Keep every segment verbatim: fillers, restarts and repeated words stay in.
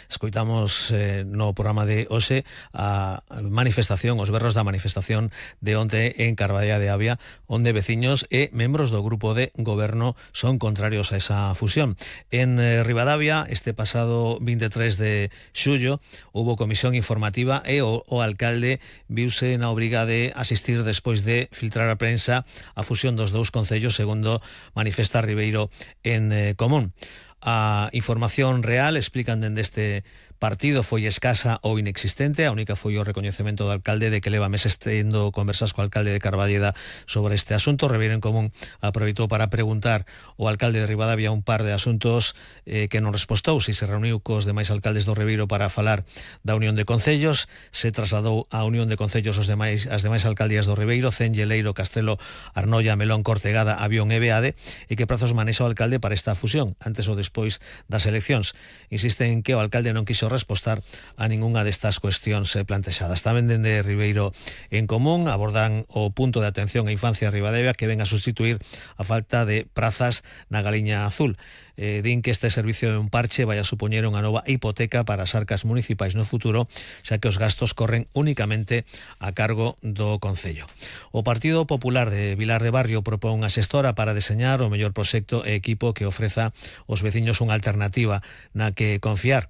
Escoitamos eh, no programa de hoxe a manifestación, os berros da manifestación de onte en Carballeda de Avia, onde veciños e membros do grupo de goberno son contrarios a esa fusión. En eh, Ribadavia, este pasado veintitrés de xullo, hubo comisión informativa e o, o alcalde viuse na obriga de asistir despois de filtrar a prensa a fusión dos dous concellos, segundo manifesta Ribeiro en eh, Común. A información real, explican dende este partido, foi escasa ou inexistente. A única foi o recoñecemento do alcalde de que leva meses tendo conversas co alcalde de Carballeda sobre este asunto. Ribeiro en Común aproveitou para preguntar ao alcalde de Ribadavia un par de asuntos eh, que non respostou, se se reuniu cos demais alcaldes do Ribeiro para falar da Unión de Concellos, se trasladou a Unión de Concellos os demais, as demais alcaldías do Ribeiro, Cenlle, Leiro, Castrelo, Arnoia, Melón, Cortegada, Avión e Beade, e que prazos manexa o alcalde para esta fusión, antes ou despois das eleccións. Insisten en que o alcalde non quiso respostar a ningunha destas cuestións plantexadas. Tamén dende Ribeiro en Común abordan o punto de atención á infancia de Ribadavia, que ven a sustituir a falta de prazas na Galiña Azul. Eh, din que este servicio de un parche vai a supoñer unha nova hipoteca para as arcas municipais no futuro, xa que os gastos corren únicamente a cargo do Concello. O Partido Popular de Vilar de Barrio propón unha xestora para deseñar o mellor proxecto e equipo que ofreza aos veciños unha alternativa na que confiar.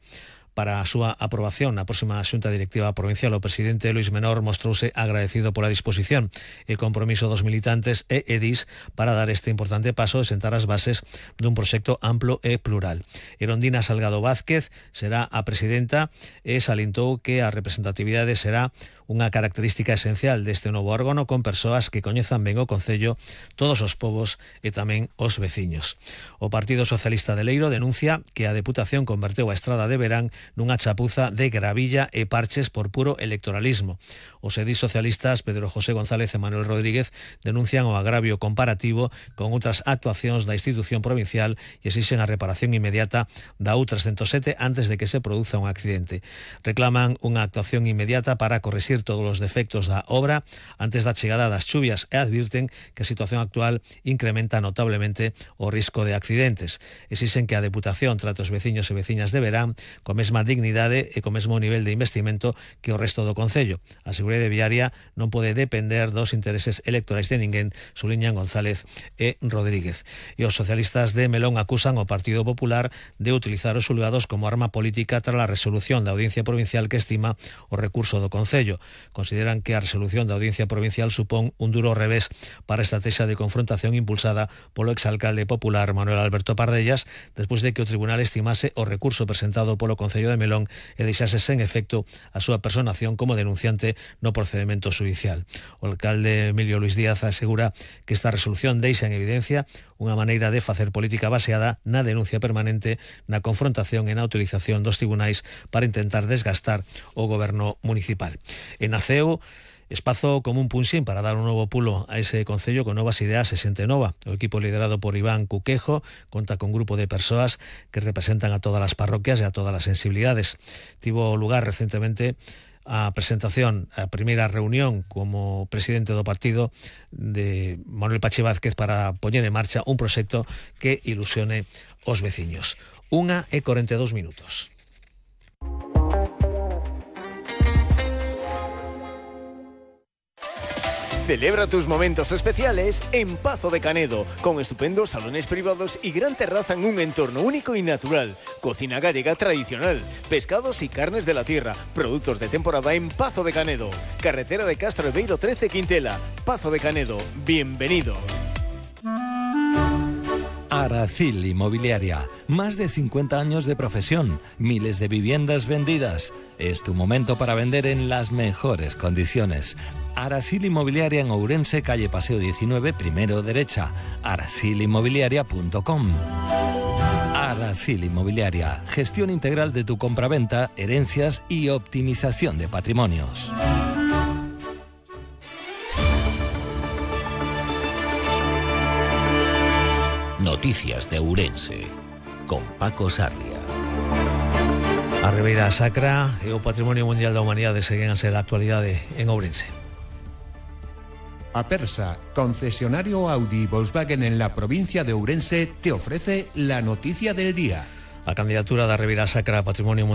Para a súa aprobación na próxima xunta directiva provincial, o presidente Luís Menor mostrouse agradecido pola disposición e compromiso dos militantes e edís para dar este importante paso e sentar as bases dun proxecto amplo e plural. Erondina Salgado Vázquez será a presidenta e salientou que a representatividade será unha característica esencial deste novo órgano, con persoas que coñezan ben o Concello, todos os povos e tamén os veciños. O Partido Socialista de Leiro denuncia que a Deputación converteu a Estrada de Verán nunha chapuza de gravilla e parches por puro electoralismo. Os edís socialistas Pedro José González e Manuel Rodríguez denuncian o agravio comparativo con outras actuacións da institución provincial e exixen a reparación inmediata da U trescentos sete antes de que se produza un accidente. Reclaman unha actuación inmediata para corrixir todos os defectos da obra antes da chegada das chuvias e advirten que a situación actual incrementa notablemente o risco de accidentes. Exixen que a Deputación trate os veciños e veciñas de Verán con mesma dignidade e co mesmo nivel de investimento que o resto do Concello. A seguridade viaria non pode depender dos intereses electorais de ninguén, suliñan González e Rodríguez. E os socialistas de Melón acusan ao Partido Popular de utilizar os xulgados como arma política tras a resolución da Audiencia Provincial que estima o recurso do Concello. Consideran que a resolución da Audiencia Provincial supón un duro revés para a estrategia de confrontación impulsada polo exalcalde popular Manuel Alberto Pardellas, despois de que o tribunal estimase o recurso presentado polo Concello de Melón e deixase sen efecto a súa personación como denunciante no procedimento judicial. O alcalde Emilio Luis Díaz asegura que esta resolución deixa en evidencia unha maneira de facer política baseada na denuncia permanente, na confrontación e na utilización dos tribunais para intentar desgastar o goberno municipal. En Naceu, espazo como un punxín para dar un novo pulo a ese concello con novas ideas e xente nova. O equipo liderado por Iván Cuquejo conta con un grupo de persoas que representan a todas as parroquias e a todas as sensibilidades. Tivo lugar recentemente a presentación, a primeira reunión como presidente do partido de Manuel Pachi Vázquez para poñer en marcha un proxecto que ilusione os veciños. Unha e corenta e dous minutos. Celebra tus momentos especiales en Pazo de Canedo, con estupendos salones privados y gran terraza en un entorno único y natural. Cocina gallega tradicional, pescados y carnes de la tierra, productos de temporada en Pazo de Canedo. Carretera de Castro Beiro trece Quintela. Pazo de Canedo, bienvenido. Aracil Inmobiliaria, más de cincuenta años de profesión, miles de viviendas vendidas. Es tu momento para vender en las mejores condiciones. Aracil Inmobiliaria en Ourense, calle Paseo diecinueve, primero derecha. aracil inmobiliaria punto com. Aracil Inmobiliaria, gestión integral de tu compraventa, herencias y optimización de patrimonios. Noticias de Ourense, con Paco Sarria. A Ribeira Sacra e o Patrimonio Mundial da Humanidade seguen a ser a actualidade en Ourense. Apersa, concesionario Audi y Volkswagen en la provincia de Ourense, te ofrece la noticia del día. A candidatura da Ribeira Sacra a Patrimonio Mundial